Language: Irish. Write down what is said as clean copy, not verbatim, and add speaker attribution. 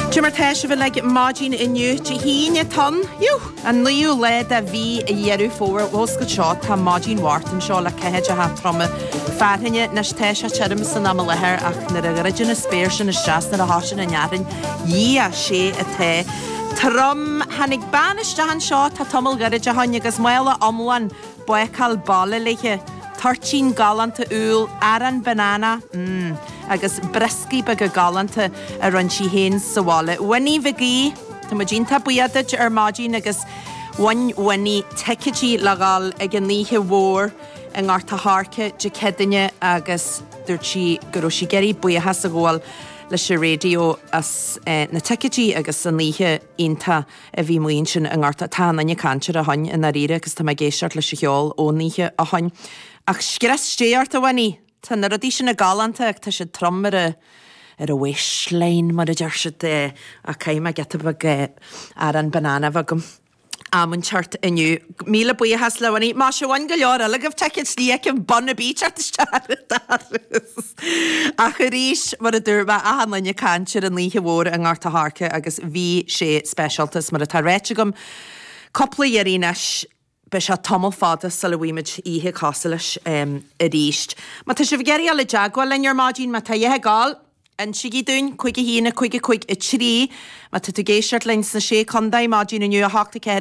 Speaker 1: Cé mar tá sibh uilig maidin inniu, Dé hAoine atá ann, an naoú lá de mhí Dheireadh Fómhair. Bhosca seo, tá maidin Mháirt anseo le ceathaideacha troma fearthainne. Anois tá sé tirim san am i láthair ach nuair a dhruideann an spéir sin isteach 's nuair a thosaíonn an fhearthainn, Dhia, sé atá trom. Tháinig bean isteach anseo tá tamall gairid ó shoin agus mála iomlán bácáil baile léithe, toirtín galánta úll, arán banana, mm, agus brioscaí beaga galánta a rinne sí féin sa bhaile. Winnie Mhig Aoidh, tá muid iontach buíoch duit ar maidin agus bhain Winnie ticéidí le dhul ag an oíche mhór i nGort a' Choirce Dé Céadaoine agus dúirt sí go raibh sí ag iarraidh buíochas a ghabháil leis an raidió as na ticéidí agus an oíche iontach a bhí amuigh ansin i nGort a'. Tá an duine ag caint air ó shoin i ndáiríre agus tá mé ag éisteacht leis an cheol ón oíche ó shoin. Ach scrios Dé ort a Winnie! Tá na rudaí sin galánta ach tá siad trom ar a ar a waistline mar a deir siad. Ach caithfidh mé giota beag arán banana a bheith agam am inteacht inniu. Míle buíochas le Winnie. Más ea bhain go leor eile agaibh ticéid ní fheicim bun ar bith teacht isteach ar an doras. Ach arís, mar a dúirt mé, achan duine ag caint ar an oíche mhór i nGort a' Choirce agus bhí sé speisialta is mar atá ráite agam cúpla iarraidh anois, beidh sé tamall fada sula bhfaighimid oíche cosúil leis arís. Má tá sibh ag iarraidh dul i dteagmháil linn ar maidin, má tá a dhath ag gabháil, insígí dúinn, 5 1 5 5 3. Má tá tú ag éisteacht linn sna Sé Contae maidin inniu, 8 4.